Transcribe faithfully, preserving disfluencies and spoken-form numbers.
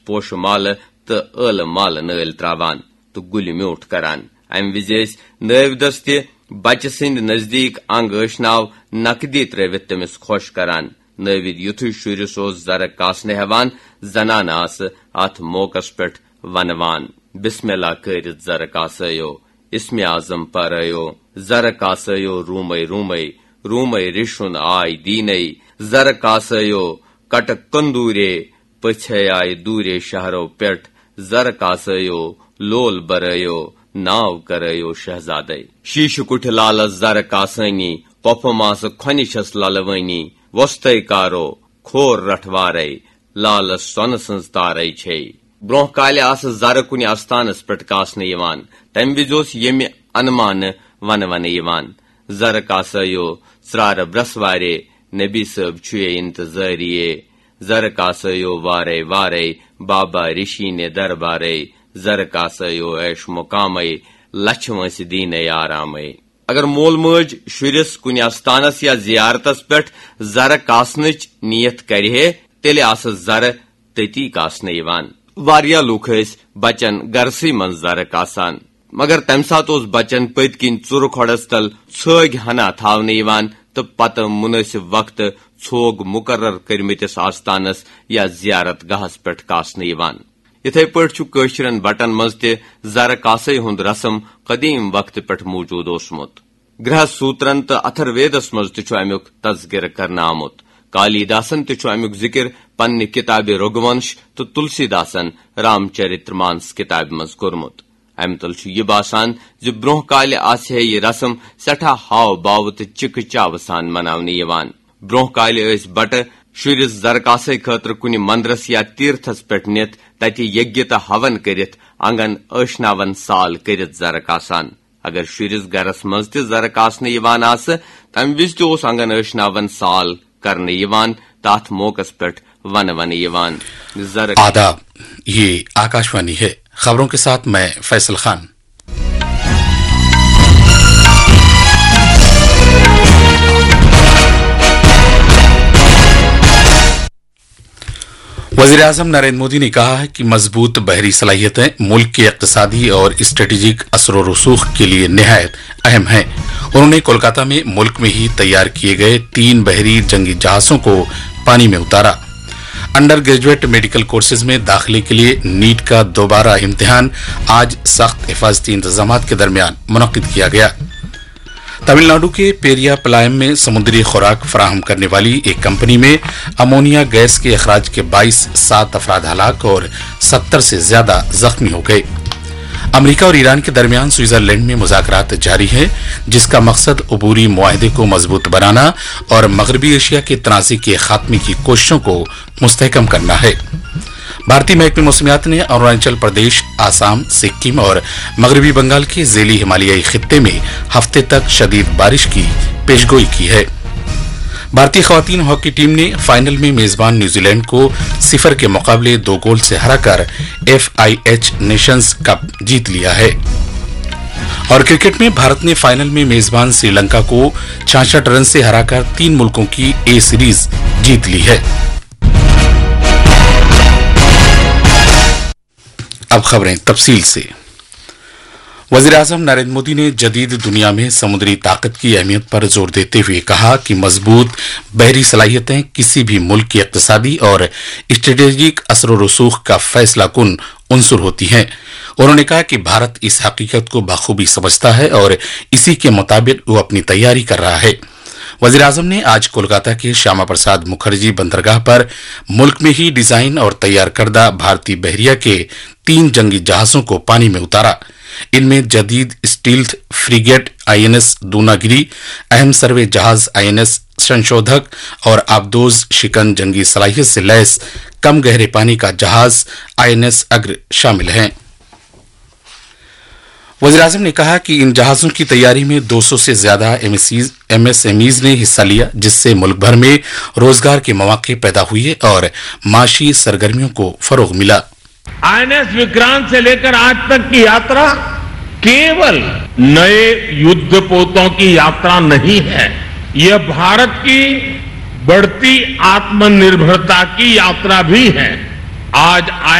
پوشہٕ مالہٕ تہٕ ٲلہٕ مالہٕ نٲلۍ تراوان تہٕ گُلہِ میوٗٹھ کران۔ امہِ وِزِ ٲسۍ نٲوۍ دٔسۍ تہِ بچہٕ سٕنٛدِ نزدیٖک انگ ٲشناو نقدی ترٲوِتھ تٔمِس خۄش کران۔ نٲوِد یُتھُے شُرِس اوس زرٕ کاسنہٕ ہٮ۪وان، زنانہٕ آسہٕ اتھ موقعس پٮ۪ٹھ ونوان، "بسم اللہ کٔرِتھ زرٕ کاسٲیو، اسمِ اعظم پرٲیو، زرٕ کاسٲیو روٗمے روٗمے، روٗمے ریشُن آے دیٖنے، زرٕ کاسٲیو کٹہٕ کندوٗرے، پٔژھے آیہِ دوٗرے شہرو پٮ۪ٹھ، زرٕ کاسٲیو لول برٲیو، ناو کرٲیو شہزادے۔ شیٖشہٕ کُٹھِ لالس زرٕ کاسٲنی، قۄفہٕ ماسہٕ کھۄنہِ چھس للوٲنی، وۄستَے کارو کھور رٹھوارے، لالس سۄنہٕ سٕنٛز تارے چھے۔" برونٛہہ کالہِ آسہٕ زرٕ کُنہِ استانس پٮ۪ٹھ کاسنہٕ یِوان۔ تمہِ وِزِ اوس ییٚمہِ انمانہٕ ونہٕ ونہٕ یِوان، "زرٕ کاسٲیو ژرارٕ برسوارے، نبی صٲب چھُے انتظٲریے۔ زرٕ کاسٲیو وارے وارے، بابا رشیٖنے دربارے۔ زرٕ کاسٲیو عیش مقامے، لچھِ وٲنٛسہِ دیٖنے آرامے۔" اگر مول مٲج شُرِس کُنہِ استانس یا زیارتس پٮ۪ٹھ زرٕ کاسنٕچ نیت کرِہے، تیٚلہِ آسہٕ زرٕ تٔتی کاسنہٕ یِوان۔ واریاہ لوٗکھ ٲسۍ بچن گرسٕے منٛز زرٕ کاسان، مگر تمہِ ساتہٕ اوس بچن پٔتۍ کِنۍ ژُرٕ کھۄڈس تل ژھٲگۍ ہنا تھاونہٕ یِوان تہٕ پتہٕ مُنٲسِب وقتہٕ ژھوگ مُقرر کٔرمٕتِس آستانس یا زیارت گاہس پٮ۪ٹھ کاسنہٕ یِوان۔ یِتھے پٲٹھۍ چھُ کٲشرٮ۪ن بٹن منٛز تہِ زرٕ کاسے ہُنٛد رسم قدیم وقتہٕ پٮ۪ٹھ موجود اوسمُت۔ گرہ سوترن تہٕ اتھر ویدس منٛز تہِ چھُ امیُک تذکرٕ کرنہٕ آمُت۔ کالی داسن تہِ چھُ امیُک ذکر پننہِ کتابہِ رگونش تہٕ تلسی داسن رام چرتر مانس کتابہِ منٛز کوٚرمُت۔ امہِ تل چھُ یہِ باسان زِ برونٛہہ کالہِ آسہِ ہے یہِ رسم سٮ۪ٹھاہ ہاو باو تہٕ چِکہٕ چاوٕ سان مناونہٕ یِوان۔ برونٛہہ کالہِ ٲسۍ بٹہٕ شُرِس زرکاسے خٲطرٕ کُنہِ مندرس یا تیرتھس پٮ۪ٹھ نِتھ تتہِ یگیہ تہٕ ہون کٔرِتھ انگن ٲشناون سال کٔرِتھ زرٕ کاسان۔ اگر شُرِس گرس منٛز تہِ زرٕ کاسنہٕ یِوان آسہٕ، تمہِ وِزِ تہِ اوس انگن ٲشناون سال کرنہٕ یِوان تہٕ اتھ موقعس پٮ۪ٹھ ونہٕ ونہٕ یِوان زرٕ۔ آداب، یہ آکاشوانی ہے۔ خبروں کے ساتھ میں فیصل خان۔ وزیر اعظم نریندر مودی نے کہا ہے کہ مضبوط بحری صلاحیتیں ملک کے اقتصادی اور اسٹریٹجک اثر و رسوخ کے لیے نہایت اہم ہیں۔ انہوں نے کولکاتہ میں ملک میں ہی تیار کیے گئے تین بحری جنگی جہازوں کو پانی میں اتارا۔ انڈر گریجویٹ میڈیکل کورسز میں داخلے کے لیے نیٹ کا دوبارہ امتحان آج سخت حفاظتی انتظامات کے درمیان منعقد کیا گیا۔ تمل ناڈو کے پیریا پلائم میں سمندری خوراک فراہم کرنے والی ایک کمپنی میں امونیا گیس کے اخراج کے باعث سات افراد ہلاک اور ستر سے زیادہ زخمی ہو گئے۔ امریکہ اور ایران کے درمیان سوئٹزرلینڈ میں مذاکرات جاری ہیں، جس کا مقصد عبوری معاہدے کو مضبوط بنانا اور مغربی ایشیا کے تنازع کے خاتمے کی کوششوں کو مستحکم کرنا ہے۔ بھارتی محکمہ موسمیات نے اروناچل پردیش، آسام، سکم اور مغربی بنگال کے ذیلی ہمالیائی خطے میں ہفتے تک شدید بارش کی پیشگوئی کی ہے۔ بھارتی خواتین ہاکی ٹیم نے فائنل میں میزبان نیوزی لینڈ کو صفر کے مقابلے دو گول سے ہرا کر F I H nations cup جیت لیا ہے۔ اور کرکٹ میں بھارت نے فائنل میں میزبان سری لنکا کو چھیاسٹھ رن سے ہرا کر تین ملکوں کی اے سیریز جیت لی ہے۔ اب خبریں تفصیل سے۔ وزیر اعظم نریندر مودی نے جدید دنیا میں سمندری طاقت کی اہمیت پر زور دیتے ہوئے کہا کہ مضبوط بحری صلاحیتیں کسی بھی ملک کی اقتصادی اور اسٹریٹجک اثر و رسوخ کا فیصلہ کن عنصر ہوتی ہیں۔ انہوں نے کہا کہ بھارت اس حقیقت کو بخوبی سمجھتا ہے اور اسی کے مطابق وہ اپنی تیاری کر رہا ہے۔ وزیر اعظم نے آج کولکاتہ کے شیاما پرساد مکھرجی بندرگاہ پر ملک میں ہی ڈیزائن اور تیار کردہ بھارتی بحریہ کے تین جنگی جہازوں کو پانی میں اتارا۔ ان میں جدید stealth frigate I N S Dunagiri, اہم سروے جہاز آئی این ایس سنشودھک اور آبدوز شکن جنگی صلاحیت سے لیس کم گہرے پانی کا جہاز آئی این ایس اگر شامل ہیں۔ وزیر اعظم نے کہا کہ ان جہازوں کی تیاری میں دو سو سے زیادہ M S Es, M S M Es نے حصہ لیا، جس سے ملک بھر میں روزگار کے مواقع پیدا ہوئے اور معاشی سرگرمیوں کو فروغ ملا۔ आईएनएस विक्रांत से लेकर आज तक की यात्रा केवल नए युद्धपोतों की यात्रा नहीं है, यह भारत की बढ़ती आत्मनिर्भरता की यात्रा भी है। आज आई